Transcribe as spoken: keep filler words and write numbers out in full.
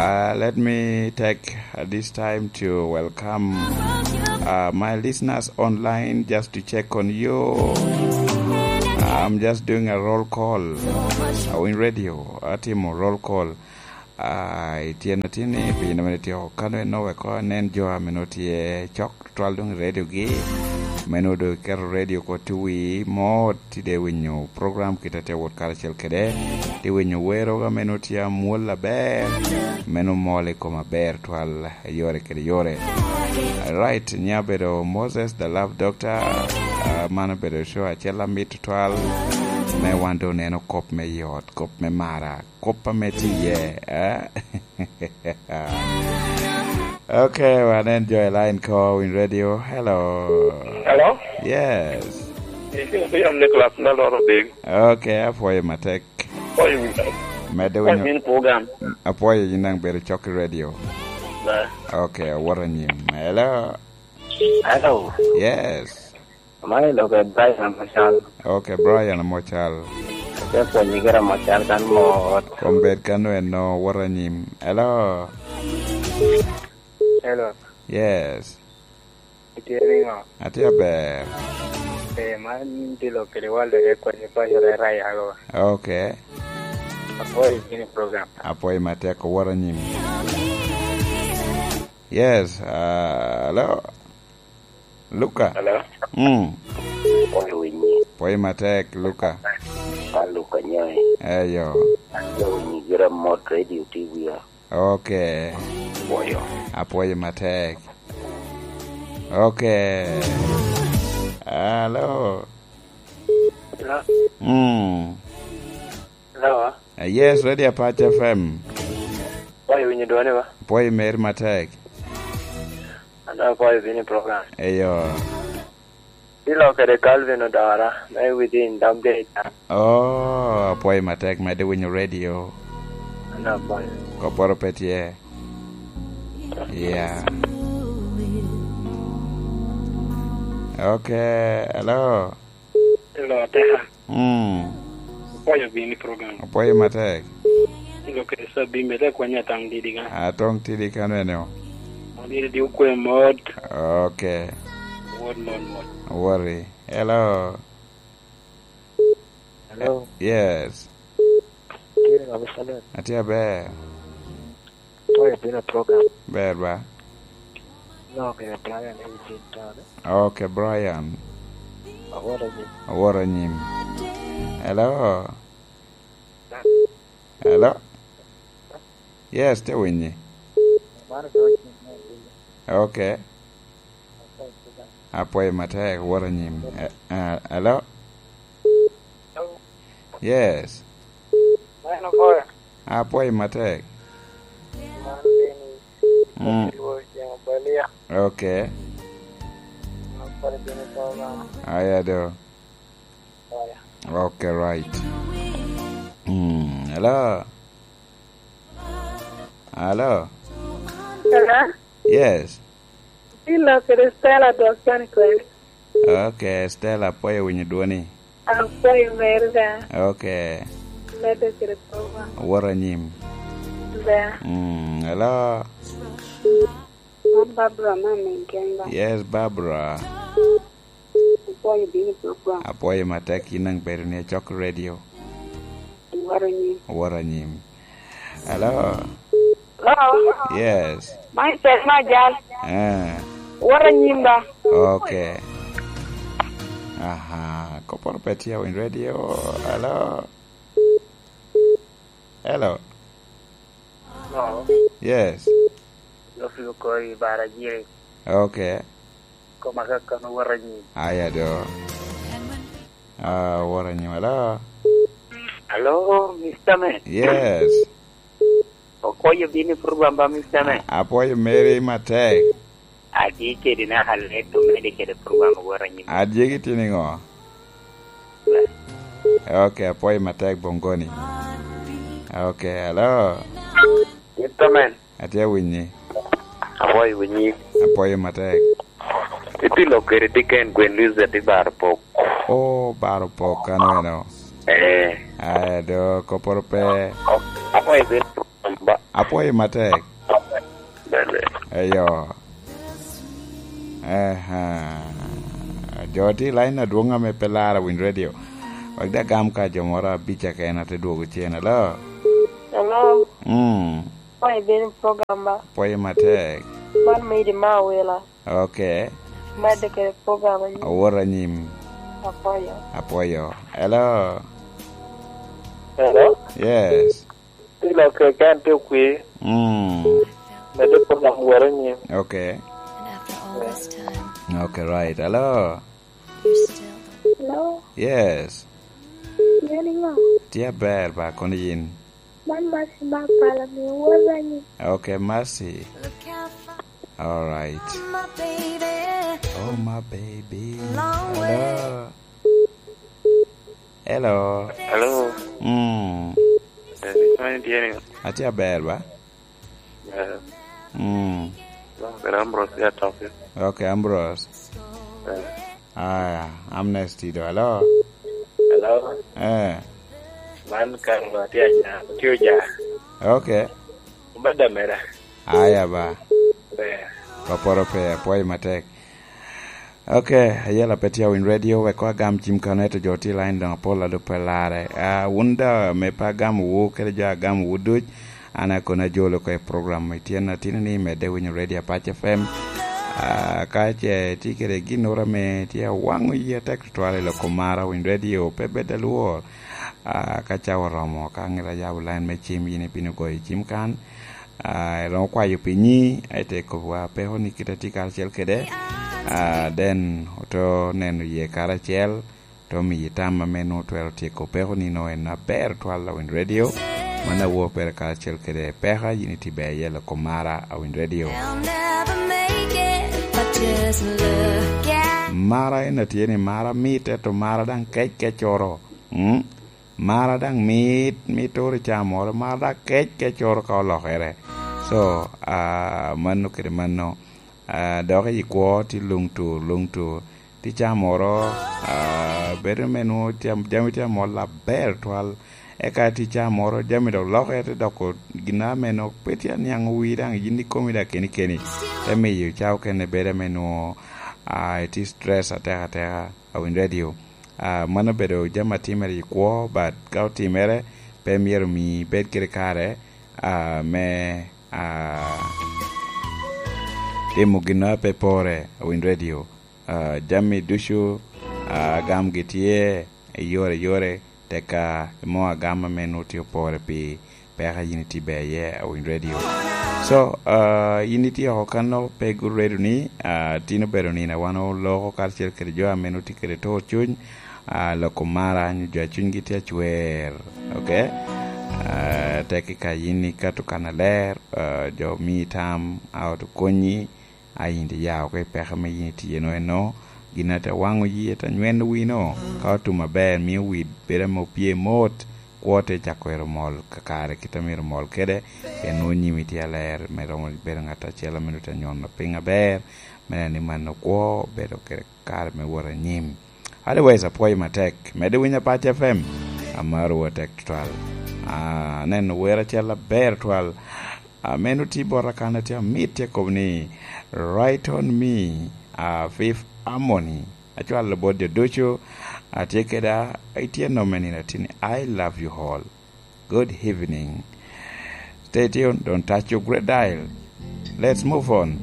Uh, let me take, uh, this time to welcome, uh, my listeners online just to check on you. I'm just doing a roll call. Uh, in radio, atimo roll call. Uh, ityen atini, piny naman itio, kano eno weko anen jo a meno tye cok twal doŋ i rediogi. Meno doŋ iketo redio ko tuwi mot, tye winyo program kite te wot karacel kede, tye winyo wero ga meno tye amwol aber, meno mol i kom aber twal yore kede yore. Right, nya bedo Moses the Love Doctor, ah, mano bedo show acel amit twal, me wan doŋ neno kop me yot, kop me mara, kop ame tye iye, eh? Okay, wanen jo i line ko, Win Radio. Hello. Hello? Yes. Isi, isi, am Nicholas, na loro big. Okay, apwoyo matek. Apwoyo Win Radio. Medde winyo. Min program. Apwoyo yin daŋ bedo cok i radio. Na. Okay, awot anyim. Hello. Hello. Yes. Amaro lok e Brian Amocal. Ok, Brian Amocal. Ate pwonyo kede Amocal kan mot. Kom bed kan eno, wot anyim. Hello. Hello. Yes. Itye niŋo? Atye aber. Eh, man tye lok kede Walter Ekwany, paco Rera Yago. Ok. Apwoyo bino i program. Apwoyo matek, wot anyim. Yes, ah, hello. Luka. Hello? Mm. Pwoyo winyi. Pwoyo matek, Luka. Ka Luka nyoe. Eyo. Pwoyo winyi gira mot radio T V ya. Ok. Pwoyo. Apwoyo matek. Ok. Hello. Hello? Mm. Hello? Ah, yes, Radio Apac F M. Pwoyo winyo dwone ba? Pwoyo meri matek. An apwoyo bino i program. Eyo. Ilo kede Calvin Odora, me within dog day. Oh, apwoyo matek, medde winyo radio. An apwoyo. Kopporo pe tye. Yeah. Okay, hello. Hello, Ateka. Mm. Apwoyo bini program. Apwoyo matek. Ilo kede Sabim, bede akwanya tang didi ka. Atong tidi ka nene o. Didi di ukwe mot. Okay. Wot mot mot. Worry. Hello. Hello. Yes. Kiri nga misalet. Atye aber. Apwoyo bino i program. Ber ba? No, kede Brian i Washington. Ok, Brian. Awot anyim. Awot anyim. Hello? Hello? Yes, te winyi. Man dong anyim me anyim. Ok. Apwoyo matek, wot anyim. Eh, eh, hello? Hello? Yes. Man apwoyo. Apwoyo matek. Man Dennis. Mm. Lwor Jeng Obalia. Okay. Apwoyo bino i program. Aya do. Aya. Okay, right. Mm, hello? Hello? Hello? Yes. Ilo kede Stella dok can kwene. Okay, Stella, apwoyo winyo dwoni. Apwoyo meri da. Okay. Medde kede program. Wot anyim. Ber. Mm, hello. An Barbara me Minkenga. Yes, Barbara. Apwoyo bino i program. Apwoyo matek, in daŋ bedo ni acok radio. Wot anyim. Wot anyim. Hello? Hello? Yes. Man Selma Ajal. Eh. Wot anyim ba? Okay. Aha, kopporo pe tye awiny radio. Hello? Hello? Hello? Yes. Yofi okori bara jiri. Okay. Koma kakano wot anyim. Aya do. Ah, wot anyim, hello? Hello, Mister Man. Yes. Okoyo bino i program ba, Mister Man. Apwoyo meri matek. Adi kede naka let omede kede program wot anyim. Adyegi tye niŋo? Okay, apwoyo matek Bongoni. Okay, hello? Mister Man. Atye awinyi. Apwoyo winyi. Apwoyo matek. Itye lok kede Diken Gwen Luzet i Baro Pok. Oh, Baro Pok, ano eno? Eh. Aya do, kopporo pe. Apwoyo bed ba. Apwoyo matek. Bene. Eyo. Ehe. Jo tye i line adwoŋ ame pe lara Winy Radio. Wek daŋ agam ka jo moro abic keken ate dwogo cen. Hello? Hello? Mm. Apwoyo bene program ba? Apwoyo matek. Man me Idi ma Awila. Ok. Medde kede program anyim. Awot anyim. Apwoyo. Apwoyo. Hello? Hello? Yes. Tye lok keken tye okwi. Mm. Medde program wot anyim. Ok. And after all this time, ok, right. Hello? You're still. Hello? Yes. Yen iŋo? Tye aber ba, kono yin? Man Mercy ma Apala, miyo wot anyim. Ok, Mercy. All right. Oh, my baby. Hello. Hello. Hello. Mm. Eh, man tye ni. Atye aber ba? Eh. Mm. Long kede Ambrose ya toke. Ok, Ambrose. Eh. Aya, Amnesty do. Hello. Hello. Eh. Man Carlo atye anya, atye oja. Ok. Obadde mera. Aya ba. Ber. Kopporo pe, apwoyo matek. Ok, ayela pe tye Winy Radio, wek koŋ agam cim kan, ento jo tye i line doŋ apol a doŋ pe larre. Ah, wun daŋ ame pe agamowu, kede jo agamowu duc, an akono ajolo oko i program i tyen atino ni medde winyo Radio Apac F M. Ah, ka ce tye kede ginnoro ame tye awaŋo yie atek tutwal i loko mara Winy Radio, pe bed alwor. Ah, ka cawa oromo, ka ŋet ayabo line me cim, yin ibino goyo cim kan. Ah, iromo kwayo pinyi, aye te kobo wa peko ni kite tye karacel kede. Ah, then oto neno ye karacel, to miyi tam ame nwoŋo twero tyeko peko ni nwoŋo en aber twal a Winy Radio. Man awo pere karacel kede peka, yin iti ber yelo kom mara a Winy Radio. I'll never make it, but just look at. Mara en atye ni mara mit, ento mara daŋ kec kecoro. Mm? Mara daŋ mit, mit oro i caa moro, mara daŋ kec, kec oro ka olokere. So, ah, mano kede mano, ah, dok i kwo tye luŋ tur, luŋ tur. Tye caa moro, ah, bedo me nwoŋo cam-, jami tye amol aber twal. Eka tye caa moro, jami dok lokere te doko gin ame nwoŋo pe tye aniaŋ wi daŋ yin ikomi daŋ keni keni. Te miyo caa okene bedo ame nwoŋo, ah, itye stress ateka ateka, a Winy Radio. Ah, mano obedo jami a timere i kwo, but ka otimere, pe myero omi ibed kede kare, ah, me, ah, timo gin a pe pore, a Winy Radio. Ah, jami ducu, ah, agamgi tye i yore yore, teka imo agam ame nwoŋo tye opore pi peka yin itye ber iye, a Winy Radio. So, ah, yin itye oko kan, pe guredo ni, ah, tin obedo nino a wan oloko karacel kede jo ame nwoŋo tye kede tur cuny, ah, loko mara, nyo jo a cunygi tye acwer, ok? Ah, tek i ka yin ikato kan aler, ah, jo omi tam, a ot okonyi, a yin tye ya oko i peko ame yin itye eno eno, gin a te waŋo yie, te nyweno wino, ka otum aber, mio wi bedo ame opye mot, kwo te cako ero mol kakare kit a myero omol kede, pien nwoŋo nyimi tye aler, me romo bedo ŋat acel ame nwoŋo te nyono piny aber, me neno ni mano kwo obedo kede kare me wot anyim. Otherwise, apwoyo matek. Mede winyo Apac F M, amaro wa tek tutwal. Ah, aneno wer acel aber twal. Ah, meno tye bota kan atye amit, tye kobo ni, "Right on me, ah, Fifth Harmony." Acwalo bot jo ducu, atye keda, itye nome nino atye ni, "I love you all." Good evening. Stay tuned, don't touch your great dial. Let's move on.